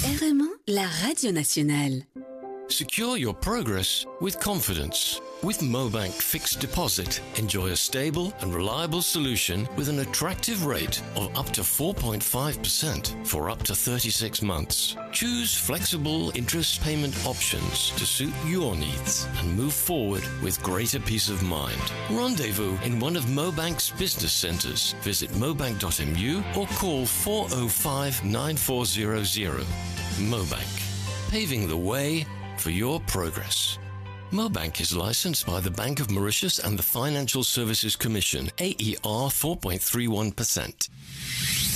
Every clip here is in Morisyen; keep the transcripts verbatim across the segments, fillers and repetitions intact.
R M un, la radio nationale. Secure your progress with confidence. With Mobank Fixed Deposit, enjoy a stable and reliable solution with an attractive rate of up to four point five percent for up to thirty-six months. Choose flexible interest payment options to suit your needs and move forward with greater peace of mind. Rendezvous in one of Mobank's business centres. Visit mobank dot M U or call four oh five nine four zero zero. Mobank, paving the way for your progress. Mobank is licensed by the Bank of Mauritius and the Financial Services Commission, A E R four point three one percent.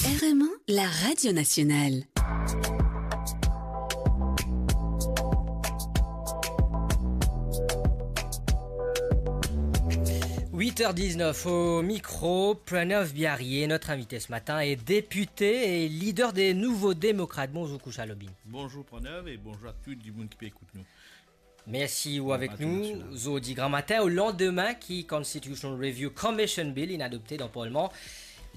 R M un, la radio nationale. Huit heures dix-neuf au micro, Pranav Biarie, notre invité ce matin est député et leader des Nouveaux Démocrates. Bonjour Koucha Lobine. Bonjour Pranav e bonzour a tou dimoun ki pe ekout nou. Mersi ou avek nou. Zordi gramatin, o landime ki Constitutional Review Commission Bill inn adopte dan Parlman,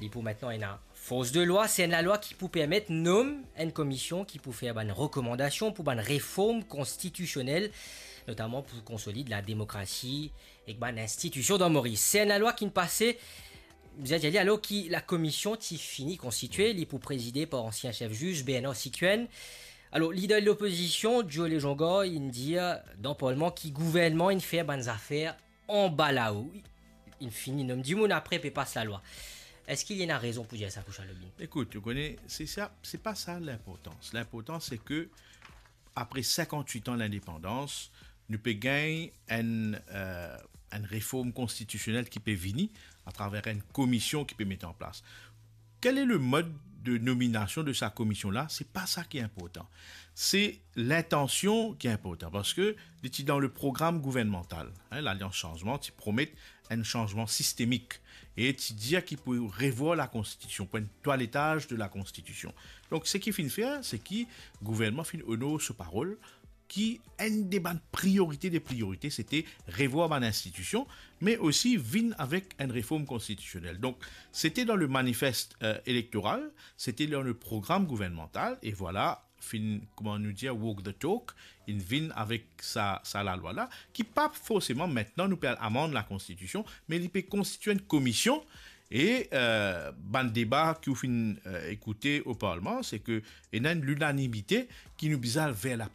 li pou aster ena fors de lwa. Se enn lalwa ki pou permet nom enn komision ki pou fer bann rekomandasion pou bann reform konstitisionel, notaman pou konsolid lademokrasi ek bann institision dan Moris. Se enn lalwa ki'nn pase, bizin dir li, alor ki lakomision ti fini konstitye, li pou prezide par ansien sef ziz Bernard Siquenne. Alor, lider lopozision, Joe Legendre, inn dir dan Parlman ki gouvernman inn fer bann zafer anba lao. Inn fini nom dimoun, apre pe pas lalwa. Eski li ena rezon pou dir sa, Koucha Lobine? Ekout, ou kone, se sa, se pa sa linportans. Linportans se ke apre sinkant-wit an lindepandans, nou pe gagn enn, euh, enn reform konstitisionel ki pe vini atraver enn komision ki pe met an plas. Quel est le mode de nomination de sa komision la? Se pa sa ki inportan. Se lintansion ki inportan, parski li ti dan le program gouvernmantal, hein, Lalians Sanzman ti promet enn sanzman sistemik e ti dir ki pou revwar lakonstitision, pou enn twaletaz de lakonstitision. Donk, seki finn fer, se ki gouvernman finn onor so parol, ki enn de bann priorite de priorite, sete revwar bann institision, me osi vinn avek enn reform konstitisionel. Donk, sete dan le manifest, euh, elektoral, sete dan le program gouvernmantal, e vwala, finn, kouma nou dir, walk the talk, inn vinn avek sa, sa lalwa la, ki pa forseman, aster nou pe al amann lakonstitision, me li pe konstitye enn komision, e, euh, bann deba ki ou finn, euh, ekoute o Parlman, se ke ena enn linanimite ki nou bizin al ver la